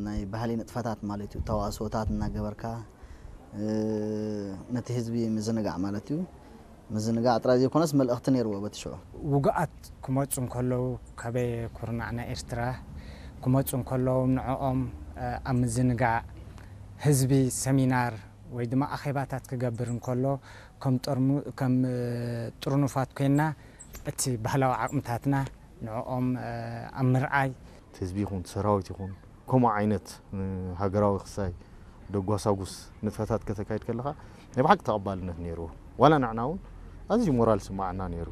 ናይ ባህሊ ንጥፈታት ማለት እዩ። ተዋስኦታት እናገበርካ ነቲ ህዝቢ ምዝንጋዕ ማለት እዩ። ምዝንጋዕ ጥራይ ዘይኮነስ መልእኽቲ ነይርዎ በቲ ሽዑ። ውጉኣት ክመፁ እንከለዉ ከበየ ኩርናዕ ናይ ኤርትራ ክመፁ እንከለዉ ንዕኦም ኣብ ምዝንጋዕ ህዝቢ ሰሚናር ወይ ድማ ኣኼባታት ክገብር እንከሎ ከም ጥርኑፋት ኮይና እቲ ባህላዊ ዓቕምታትና ንዕኦም ኣብ ምርዓይ ህዝቢ ይኹን ሰራዊት ይኹን ከምኡ ዓይነት ሃገራዊ ክሳይ ደጓሳጉስ ንጥፈታት ከተካይድ ከለኻ ናይ ብሓቂ ተቐባልነት ነይርዎ። ዋላ ንዕና እውን ኣዝዩ ሞራል ስማዓና ነይሩ።